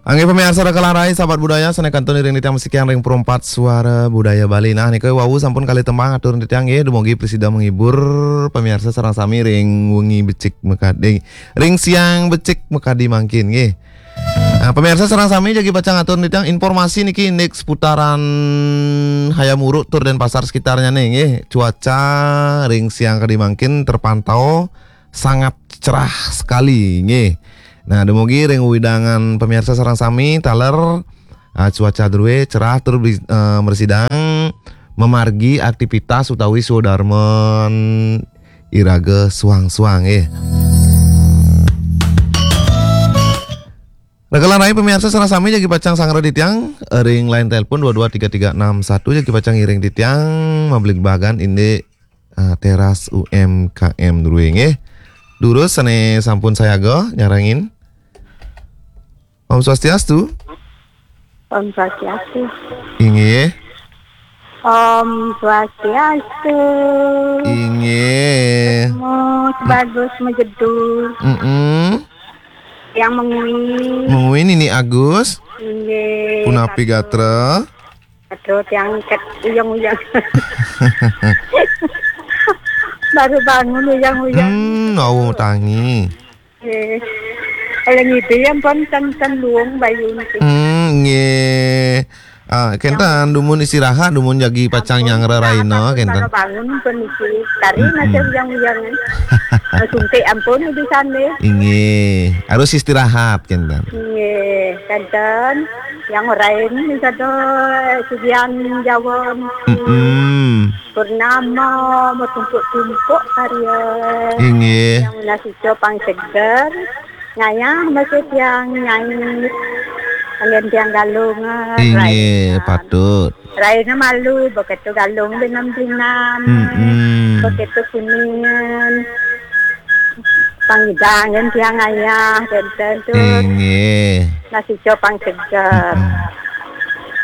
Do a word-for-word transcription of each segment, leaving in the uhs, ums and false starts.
Inggih pamiarsa Raka lan Rai, sahabat budaya, sané kantun iring titiang masikian ring Perempat Suara Budaya Bali. Nah, nika wau sampun kalih tembang atur titiang nggih, dumugi prasida menghibur pamiarsa sareng sami ring wengi becik makadi, ring siang becik makadi mangkin nggih. Nah, pamiarsa sareng sami jagi pacang atur titiang informasi niki indik seputaran Hayam Wuruk tur Denpasar sekitarnya nih nggih. Cuaca ring siang kadi mangkin terpantau sangat cerah sekali nggih. Nah, dumugi ring wewidangan pamiarsa sareng sami taler, ah, cuaca drué cerah tur bi-, eh, mrasidang mamargi aktivitas utawi swadarman iraga suang-suang nggih. Raka lan Rai pamiarsa sareng sami jagi pacang sangra titiang ring line telepon dua dua tiga tiga enam satu, jagi pacang ngiring titiang mabligbagan indik ah, teras U M K M drué nggih. Durus sané sampun sayaga nyarengin. Om Swastiastu. Om Swastiastu. Inggih. Om Swastiastu. Inggih. Mus bagus majedu. Mm-mm. Yang mengui. Mengui Nini Agus. Inggih. Punapi gatra? Aduh, tiang ket uyang-uyang. Baru bangun uyang-uyang. Hmm, awu tangi. Nggih. Eling ide yang pun ten ten luung bayu niki. Hmm, nggih. Ah, kenten dumun istirahat, dumun jagi pacang nyang reraina, kenten. Baru bangun pun niki. Tari masih uyang-uyang. Suntik ampun di sana. Inggih, harus istirahat, kenten. Nggih, kenten. Yang lain misalnya Sugian Jawa, mm-mm. Purnama, mau tumpuk-tumpuk karya. Inggih. Yang nasi copang seger, ngayah masih tiang nyai. Angin tiang galungan. Inggih, patut. Raina malu, begitu galung binam-binam. Mm-mm. Begitu kuningan. Pangidang kan tiang ayah, kenten tu. Inggih. Nasi copang seger. Mm-mm.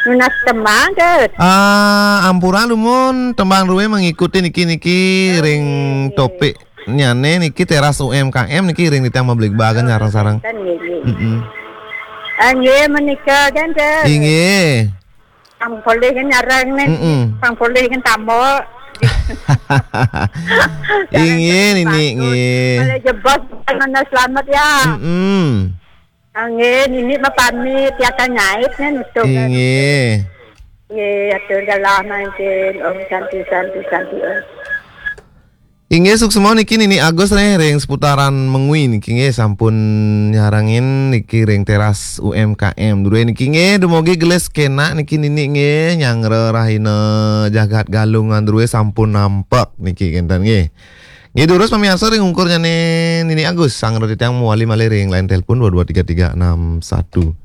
Nunas tembang ke? Ah, ampura dumun tembang drué mengikuti niki-niki ring topik nyane niki teras U M K M niki ring titiang mabligbagan sareng-sareng. Kenten nggih. Mm-mm. Ah, nggih menika kenten. Inggih. Pang polih kan nyarang nih. Mm-mm. Pang polih kan tambok. Inggih, Nini, nggih. Kalau jebos, mana selamat ya. Mm-mm. Ah, nggih, Nini mah pamit, ya kan nyait nih nutup. Inggih. Nggih, atur dalam mangkin. Om Santi, Santi, Santi, Om. Inggih, suksma niki Nini Agus nih ring seputaran Mengwi niki nggih sampun nyarengin niki ring teras U M K M. Drué niki nggih, dumugi gelis kenak niki Nini nggih, nyanggra rahina jagat Galungan drué sampun nampek niki kenten nggih. Nggih, durus pamiarsa ring ungkur nyane Nini Agus, sangra titiang mawali malih ring line telepon dua dua tiga tiga enam satu.